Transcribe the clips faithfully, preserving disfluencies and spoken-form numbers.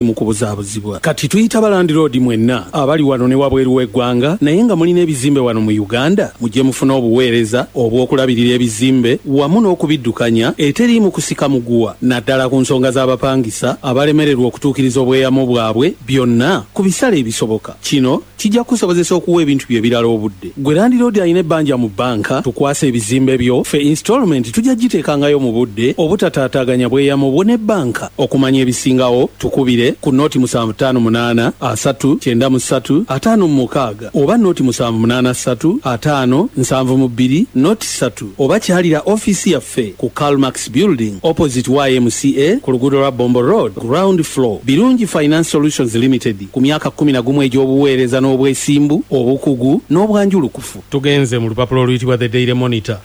Mu kubuzaabuzibwa kati tuyita balandiroodi mwenna abali wano ne wabweru w'eggwanga, naye nga mulina ebizimbe wano mu Uganda, mujje mufune obuweereza obw'okulabirira ebizimbe wamu n'okubiddukanya eteriimu kusika muguwa, naddala ku nsonga z'abapangisa abalemererwa okutuukiriza obweyamo bwabwe, byonna ku bisale ebisoboka. Kino kijja kukusobozesa okuwa ebintu bye ebirala obudde. Gwe landiroodi alina ebbanja mu bbanka, tukwasa ebizimbe byo, ffe installment tujja giteekangayo mu budde obutataataaganya bweyamo bwo ne bbanka. Okumanya ebisingawo, tukubire ku noti musanvu ttaano munaana asatu kyenda mu ssatu ataano mu mukaaga oba noti musanvu munaana ssatu ataano nsanvu mu bbiri noti ssatu, oba kyalira ofiisi yaffe ku Calmax Building, opposite Y M C A, ku luguudo lwa Bombo Road, ground floor. Birungi Finance Solutions Limited, ku myaka kkumi na gumu egy'obuweereza n'obwesimbu, obukugu n'obwanjulukufu. Tugenze mu lupapula oluyitibwa The Daily Monitor.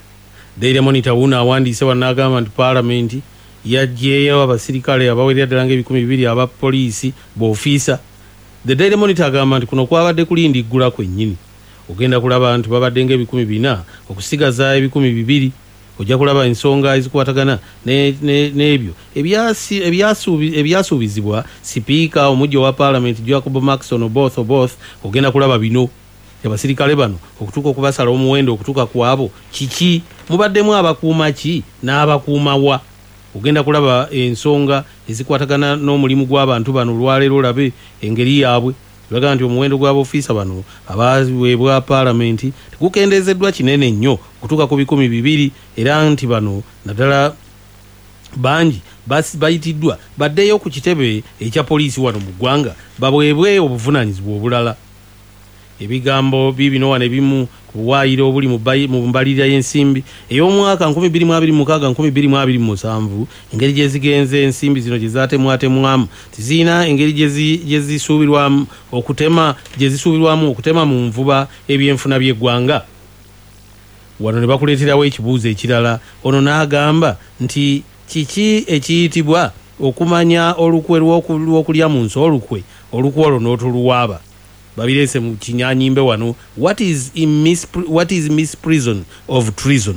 Daily Monitor wuno awandiise wano n'agamba nti Paalamenti yaggyeeyo abasirikale abawerera ddala ng'ebikumi bibiri aba poliisi b'ofiisa. The Daily Monitor agamba nti kuno kwabadde kulindiggula kwennyini. Ogenda kulaba nti babadde ng'ebikumi bina okusigaza ebikumi bibiri. Ojja kulaba ensonga ezikwatagana n'ebyo ebyasuubizibwa sipiika omujja owa Paalamenti, Jacob Markson Oboth Oboth. Ogenda kulaba bino, abasirikale bano okutuuka okubasala omuwendo okutuuka ku abo kiki, mubaddemu abakuuma ki n'abakuuma wa. Ogenda kulaba ensonga ezikwatagana n'omulimu gw'abantu bano olwaleero, olabe engeri yaabwe. Bagamba nti omuwendo gw'abaofiisa bano abaweebwa Paalamenti tegukendeezeddwa kinene nnyo okutuuka ku bikumi bibiri, era nti bano naddala bangi bayitiddwa baddeyo ku kitebe ekya poliisi wano mu ggwanga baweebwe obuvunaanyizibwa obulala. Ebigambo biibino wano ebimu ku buwaayiro obuli mu mbalirira y'ensimbi ey'omwaka nkumi bbiri mu abiri mu mukaaga nkumi bbiri mu abiri mu musanvu, engeri gye zigenze ensimbi zino gye zaatemwatemwamu tizirina engeri gye zisuubirwamu okutema gye zisuubirwamu okutema mu nvuba ebyenfuna by'eggwanga. Wano ne bakuleeterawo ekibuuzo ekirala. Ono n'agamba nti kiki ekiyitibwa okumanya olukwe lw'okulya mu nsi olukwe, olukwe olwo n'otoluwaaba? Babireese mu kinyanyimbe wano, what is, what is misprision of treason?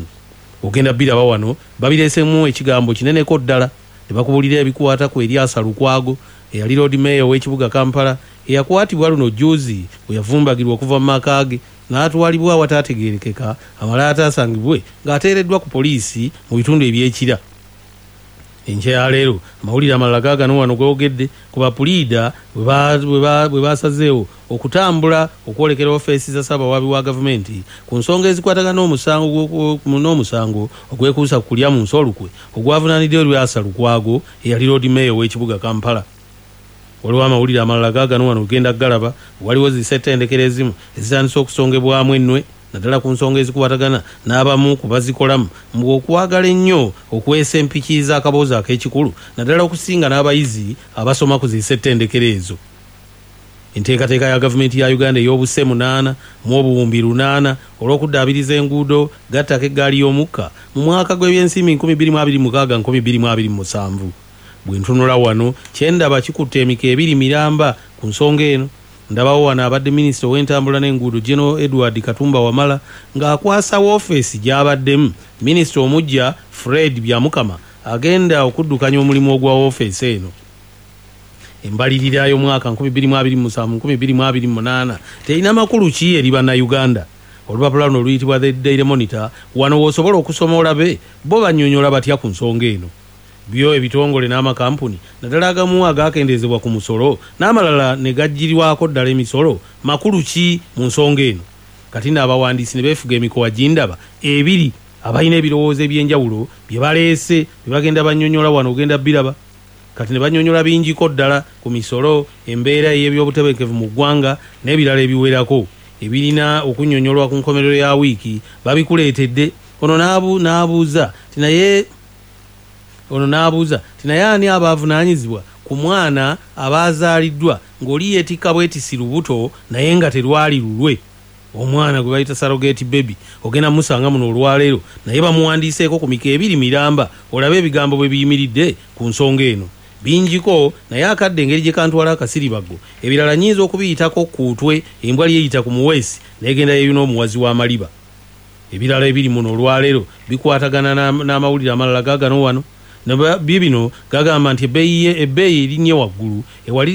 Ogenda biraba wano, babireesemu ekigambo kineneko ddala ne bakubulira ebikwata ku Erias Lukwago, eyali Lord Mayor w'ekibuga Kampala, eyakwatibwa luno juzi bwe yavumbagirwa okuva mu maka ge n'atwalibwa awataategeerekeka, amala ataasangibwe ng'ateereddwa ku poliisi mu bitundu ebyekira. Enkya ya leero amawulire amalala gaagano wano googedde ku bapuliida bwe basazeewo okutambula okwolekera ofeesi za ssaabawaabi wa gavumenti ku nsonga ezikwatagana n'omusango ogwekuusa ku kulya mu nsi olukwe ogwavunaaniddwa Erias Lukwago, eyali Lord Mayor w'ekibuga Kampala. Waliwo amawulire amalala gaagano wano, ogenda galaba. Waliwo zisettendekero ezimu ezitandise okusongebwamu ennwe, naddala ku nsonga ezikwatagana n'abamu ku bazikolamu mbu okwagala ennyo okwesa empiki z'akaboozi ak'ekikulu, naddala okusinga n'abayizi abasoma ku zisettendekero ezo. Enteekateeka ya gavumenti ya Uganda ey'obuse munaana mu obuwumbi lunaana olw'okuddaabiriza enguudo gattako eggaali y'omukka mu mwaka gw'ebyensimbi nkumi bbiri mu abiri mu mukaaga nkumi bbiri mu abiri mu musanvu. Bwe ntunula wano, kyendaba kikutte emiko ebiri miramba ku nsonga eno. Ndabawo wano abadde minisita ow'entambula n'enguudo, General Edward Katumba Wamala, ng'akwasa woofiisi gy'abaddemu minisita omujja Fred Byamukama agenda okuddukanya omulimu ogwa woofiisi eno. Embalirira y'omwaka nkumi bbiri mu abiri mu musanvu nkumi bbiri mu abiri mu munaana terina makulu ki eri Bannayuganda? Olupapula luno oluyitibwa The Daily Monitor, wano w'osobola okusoma olabe bo bannyonnyola batya ku nsonga eno. Byo ebitongole n'amakampuni, naddala agamu agakendeezebwa ku musolo n'amalala ne gaggyirwako ddala emisolo, makulu ki mu nsonga eno? Kati nno abawandiisi ne beefuga emikowa gindaba ebiri, abalina ebirowoozo ebyenjawulo bye baleese bye bagenda bannyonnyola wano, ogenda biraba. Kati ne bannyonnyola bingiko ddala ku misolo, embeera ey'ebyobutebenkevu mu ggwanga n'ebirala ebiwerako ebirina okunnyonnyolwa ku nkomerero ya wiiki, babikuleetedde. Ono n'abuuza ti naye ono n'abuuza ti naye ani aba avunaanyizibwa ku mwana aba azaaliddwa ng'oli yeetikka bwetisi lubuto naye nga terwali lulwe, omwana gwe bayita surrogate baby? Ogenda musanga muno olwaleero, naye bamuwandiiseeko ku miko ebiri miramba, olabe ebigambo bwe biyimiridde ku nsonga eno. Bingiko, naye akadde engeri gye kantwala akasiribaggo, ebirala nyinza okubiyitako kuutwe embwa lyeyita ku muweesi n'egenda yeeyuna omuwazi w'amaliba. Ebirala ebiri muno olwaleero bikwatagana n'amawulire amalala gaagano wano. Bibino gagamba nti ebbeeyi erinnye waggulu.